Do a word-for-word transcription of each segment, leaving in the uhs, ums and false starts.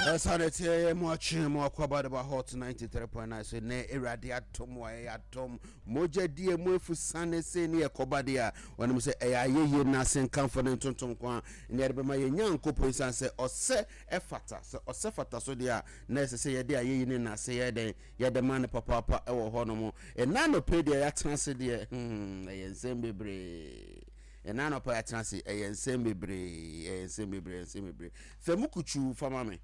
Ɛsane teɛ yɛ mu akye mu akɔba de ba Hot ninety-three point nine so. Nɛ Awurade atom a ɛyɛ atom mogya die mu efu sane se ne yɛkɔba deɛ a, wɔnom sɛ ɛyɛ ayɛyie no ase nkamfo ne ntontom ko a ne yɛde bɛma yɛ Nyankopɔn, ɛsiane sɛ ɔsɛ ɛfata. Sɛ ɔsɛ fata so deɛ a, na ɛsɛ sɛ yɛde ayɛyie ne nase yɛ dɛn yɛde ma no papaapa ɛwɔ hɔ nom. Ɛna anɔpɛ deɛ yɛatena ase deɛ, hmm, ɛyɛ nsɛm bebree. Ɛna anɔpɛ yɛatena ase, ɛyɛ nsɛm bebree, ɛyɛ nsɛm bebree, ɛyɛ nsɛm bebree. Fɛ mu kutuu fama me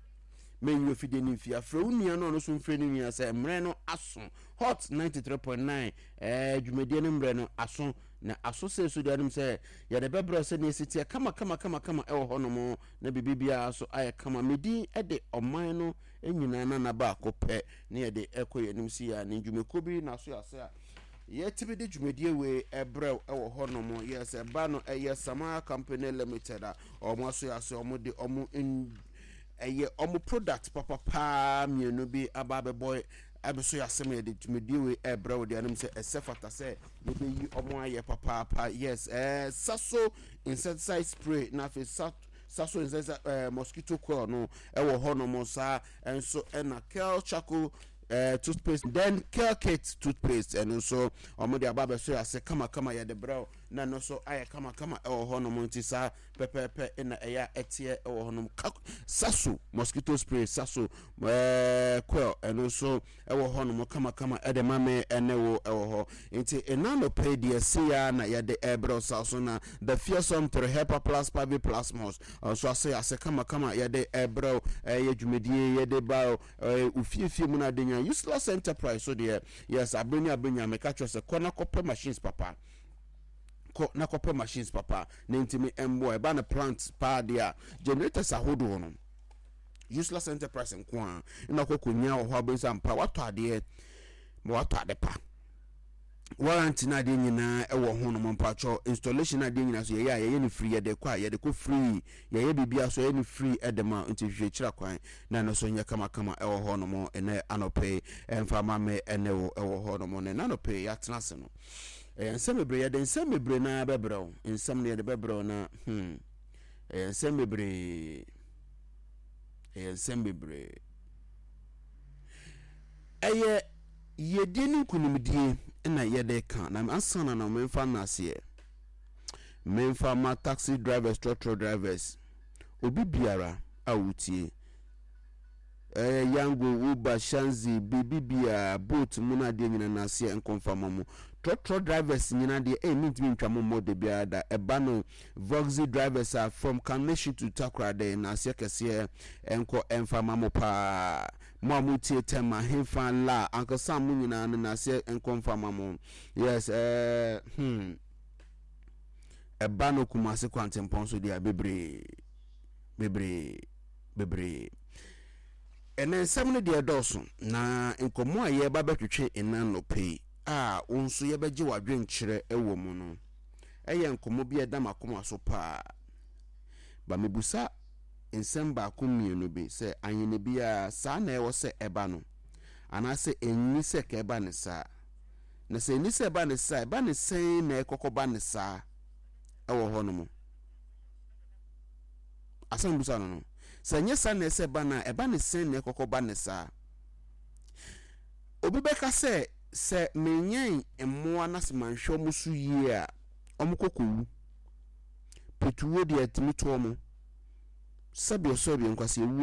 menyi ofidie no mfie afrɛ wo nua no, ɔno nso mfrɛ ne nua sɛ mmerɛ no aso. Hot ninety-three point nine, ɛɛ dwumadie no mmerɛ no aso na aso sɛ so deɛ anom sɛ yɛde bɛbrɛ sɛ ne ɛsi teɛ kama kama kama kama ɛwɔ hɔ nom na biribi biara so ayɛ kama. Medin de ɔman no nyinaa nana baako pɛ ne yɛde ɛkɔ yɛn anim si yɛ ne dwumakuo bi na so yɛ a yɛtumi de dwumadie wei ɛbrɛw ɛwɔ hɔ nom. Yɛ sɛ ba no ɛyɛ Samara Company Limited a ɔmo aso yɛ ase, ɔmo de ɔmo ɛyɛ ɔmo product papapaa mmienu bi aba abɛbɔ ɛbɛso yɛ asɛm. Yɛde dwumadie wei ɛbrɛ wo deɛ anom sɛ ɛsɛ fata sɛ yɛbɛyi ɔmo ayɛ papaapa. Yes, ɛɛ Saso insecticide spray na afei sa Saso insecticide ɛɛ mosquito coil no ɛwɔ hɔ nom saa ɛnso, ɛna Kel charcoal ɛɛ toothpaste, then Kel Kit toothpaste, ɛno nso ɔmo de aba abɛso yɛ ase kamakama. Yɛde brɛw na ɛno nso ayɛ kamakama ɛwɔ hɔ nom. Nti saa pɛpɛɛpɛ ɛna ɛyɛ a ɛteɛ ɛwɔ hɔ nom. Saso mosquito spray, Saso ɛɛ coil, ɛno nso ɛwɔ hɔ nom kamakama ɛde ma me ɛne wo ɛwɔ hɔ. Nti ɛna nɔpɛ deɛ seya na yɛde ɛbrɛw sa so na the fearsome three Hepa Plus Pavi Plasmos nso ase ase kamakama yɛde ɛbrɛw. Ɛyɛ dwumadie yɛde ba ɛɛ ofiefie mu na ade nya Useless Enterprise so deɛ. Yes, abenya abenya meka kyerɛ sɛ kɔ na kɔpɛ machines papa, kɔ na kɔpɛ machines papa na ntumi mboa. Ɛba no plant paa deɛ a, generators ahodoɔ no, Useless Enterprise nko a na kɔ kɔnya wɔ hɔ. Abɛnsa mpa watɔ adeɛ ma watɔ ade pa, warranty na adeɛ nyinaa ɛwɔ ho nom. Mpatsɔ installation na adeɛ nyinaa so yɛyɛ a, yɛyɛ no free. Yɛde kɔ a, yɛde kɔ free. Yɛyɛ biribiara so, yɛyɛ no free ɛde ma. Nti hwehwɛ kyerɛ kwan na ɛno so nyɛ kamakama ɛwɔ hɔ nom. Ɛnɛ anɔpɛ ɛmfa ma me ɛne wo ɛwɔ hɔ nom. Na ɛnɛ anɔpɛ yɛatena ase no, ɛyɛ nsɛm bebree. Yɛde nsɛm bebree naa bɛbrɛ wo. Nsɛm no yɛde bɛbrɛ wo na hmm ɛyɛ nsɛm bebree, ɛyɛ nsɛm bebree. Ɛyɛ yiedie ne nkonimdie na yɛde ka. Na ansa na na memfa nnaseɛ memfa ma taxi drivers, trɔtrɔ drivers, obi biara a wotie ɛyɛ Yango, Uber, Shanzi, biribi biara, Bolt mu no adeɛ nyina naseɛ nkɔmfa ma mo trɔtrɔ drivers nyina deɛ. Ɛyɛ mentumi ntwa mo mmɔ de biara da. Ɛba no voxy drivers a from Kaneshie to Takoradi, naseɛ kɛseɛ ɛnkɔ ɛmfa ma mo paa. Mo a motie Tɛm ahemfa la ankasa mo nyinaa no, naseɛ nkɔmfa ma mo. Yes, ɛɛ hmm ɛba no Kumase kwantempɔn so deɛ, bebree bebree bebree. Ɛnɛ nsɛm no deɛ dɔɔso na nkɔmmɔ a yɛreba bɛtwetwe ɛna nnɔpɛ yi a wo nso yɛbɛgye w'adwenkyerɛ wɔ mu no, ɛyɛ nkɔmmɔ bi a ɛda m'akoma so paa. Ba mebusa nsɛm baako mmienu bi sɛ ahene biara saa na ɛwɔ sɛ ɛba no, anaasɛ ɛnni sɛ ka ɛba ne saa? Na sɛ ɛnni sɛ ɛba ne saa, ɛba ne sɛn na ɛkɔkɔ ba ne saa ɛwɔ hɔ nom? Asɛm busa no no sɛ ɛnyɛ saa na ɛsɛ ba no a, ɛba ne sɛn na ɛkɔkɔ ba ne saa? Obi bɛka sɛ sɛ menyɛn mmoa na sɛ manhwɛ ɔmo so yie a, ɔmo kɔkɔwu petuwo deɛ, ɛtumi to ɔmo sɛbi ɔsɔ bi nkwasi ewuo.